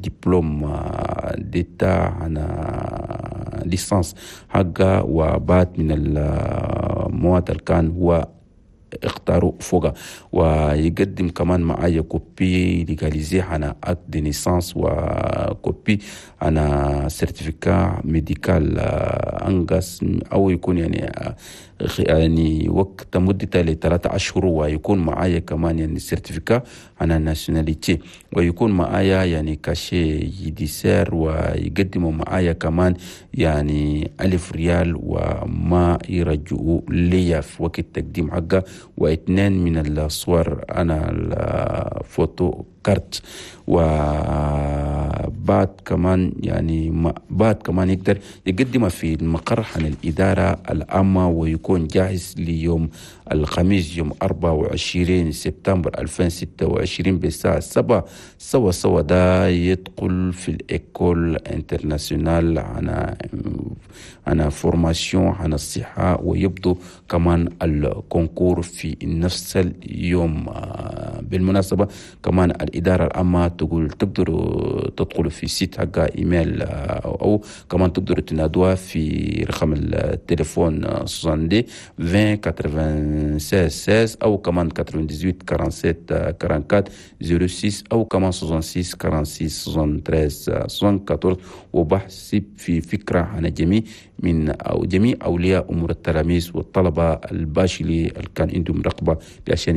دبلوم d'état هنا licence حقه، وبعض من المواد اللي كان هو اختاروا فوقها. ويقدم كمان معايا copie légalisée هنا acte de naissance و copie هنا certificat médical انقص او يكون يعني وقت مدته ل3 اشهر. ويكون معايا كمان يعني certificat هنا nationalité، ويكون معايا يعني cachet judiciaire، ويقدموا معايا كمان يعني 1000 ريال وما يرجعوا لي في وقت التقديم حقه، واثنين من الصور انا ال photo carte. وبعد كمان يعني بعد كمان يقدر يقدمها في المقر عن الإدارة العامة، ويكون جاهز ليوم الخميس يوم 24 سبتمبر 2026 بالساعة 7 سوا سوا. ده يدخل في ال école internationale هنا formation عن الصحة، ويبدو كمان ال concours في نفس اليوم. بالمناسبة كمان الإدارة العامة تقول تقدروا تدخلوا في site حق إيميل، أو كمان تقدروا تنادوها في رقم التليفون 62 20 96 16، أو كمان 98 47 44 06، أو كمان 66 46 73 74. وبحسب في فكرة عن جميع من أو جميع أولياء أمور التلاميذ والطلبة ال bachelier اللي كان عندهم رغبة عشان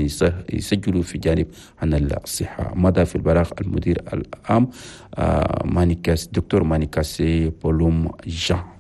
يسجلوا في جانب عن الصحة. مضى في البلاغ المدير العام مانيكاس، دكتور مانيكاسي بولوم جان.